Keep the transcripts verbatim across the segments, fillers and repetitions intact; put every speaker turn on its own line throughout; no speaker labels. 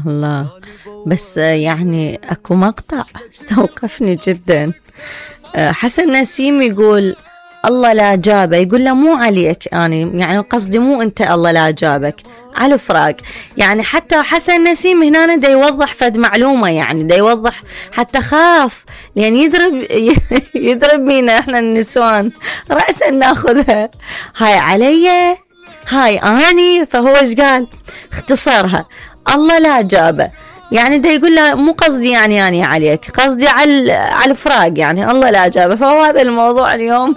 الله. بس يعني اكو مقطع استوقفني جدا. حسن نسيم يقول الله لا جابه، يقول له مو عليك يعني يعني قصدي مو انت الله لا جابك، على الفراق. يعني حتى حسن نسيم هنا دا يوضح فد معلومة، يعني دا يوضح حتى خاف لأن يضرب يضرب بينا احنا النسوان رأسا ناخذها، هاي علي هاي اني. فهو ايش قال؟ اختصرها الله لا جابه، يعني دا يقول له مو قصدي يعني يعني عليك، قصدي على على الفراق، يعني الله لا جابه. فهو هذا الموضوع اليوم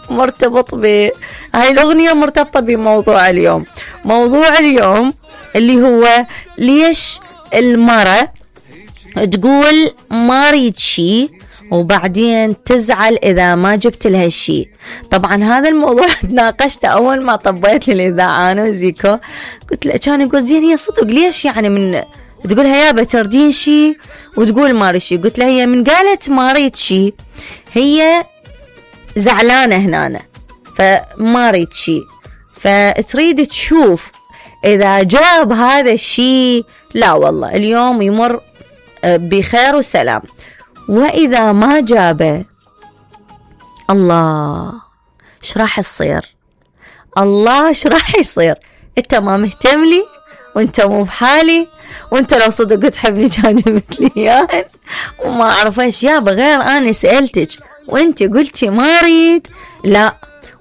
مرتبط ب هاي الأغنية، مرتبطة بموضوع اليوم. موضوع اليوم اللي هو ليش المرأة تقول ما اريد شي وبعدين تزعل إذا ما جبت لها شي. طبعا هذا الموضوع تناقشته أول ما طبيت للإذاعة أنا وزيكو، قلت له كان يقول زين هي صدق ليش يعني من تقولها يابا تردين شي وتقول ما اريد شي؟ قلت له هي من قالت ما اريد شي هي زعلانة هنا، فما اريد شي، فتريد تشوف إذا جاب هذا الشي لا والله اليوم يمر بخير وسلام، وإذا ما جابه الله ايش راح يصير؟ الله ايش راح يصير؟ انت ما مهتم لي وانت مو بحالي، وانت لو صدق تحبني كان جبت لي اياه وما اعرف ايش يابا غير انا سألتك وانت قلتي ما اريد. لا،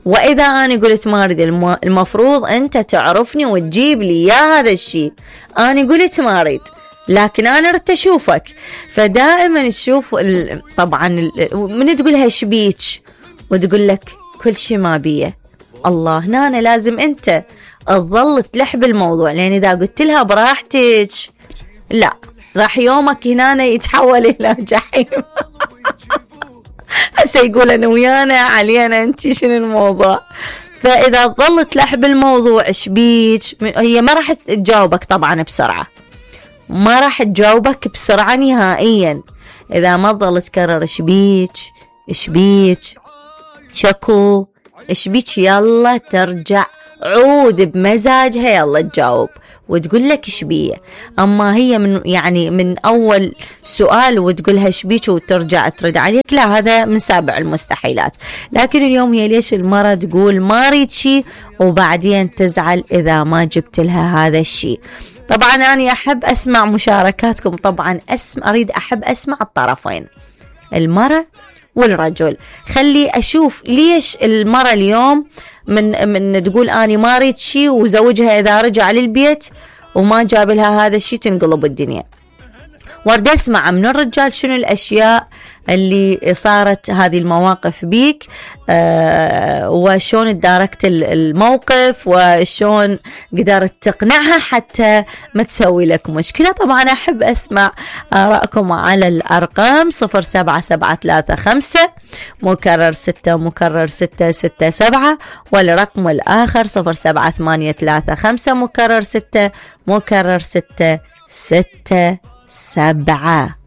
واذا انا قلت ما اريد المفروض انت تعرفني وتجيب لي يا هذا الشيء. انا قلت ما اريد لكن انا ردت اشوفك. فدائما تشوف طبعا من تقولها شبيك وتقول لك كل شيء ما بيه الله، هنا أنا لازم انت تظل تلح بالموضوع، لان اذا قلت لها براحتك لا راح يومك هنا يتحول الى جحيم. هسه يقول انا ويانا علينا انت شنو الموضوع. فاذا ظلت تلح بالموضوع شبيك هي ما راح تجاوبك طبعا بسرعه، ما راح تجاوبك بسرعة نهائيا إذا ما تظل تكرر شبيك شبيك شكو شبيك يلا ترجع عود بمزاجها يلا تجاوب وتقول لك شبيه. أما هي من يعني من أول سؤال وتقولها شبيك وترجع ترد عليك لا، هذا من سابع المستحيلات. لكن اليوم هي ليش المرة تقول ما أريد شي وبعدين تزعل إذا ما جبت لها هذا الشي؟ طبعا أنا أحب أسمع مشاركاتكم، طبعا أسم أريد أحب أسمع الطرفين المرأة والرجل. خلي أشوف ليش المرأة اليوم من من تقول أنا ما أريد شي وزوجها إذا رجع للبيت وما جاب لها هذا الشي تنقلب الدنيا. ورد أسمع من الرجال شنو الأشياء اللي صارت هذه المواقف بيك، آه وشون تداركت الموقف وشون قدرت تقنعها حتى ما تسوي لك مشكلة. طبعا أحب أسمع آراءكم على الأرقام صفر سبعة سبعة ثلاثة خمسة مكرر ستة مكرر ستة ستة سبعة، والرقم الآخر صفر سبعة ثمانية ثلاثة خمسة مكرر ستة مكرر ستة ستة سبعة.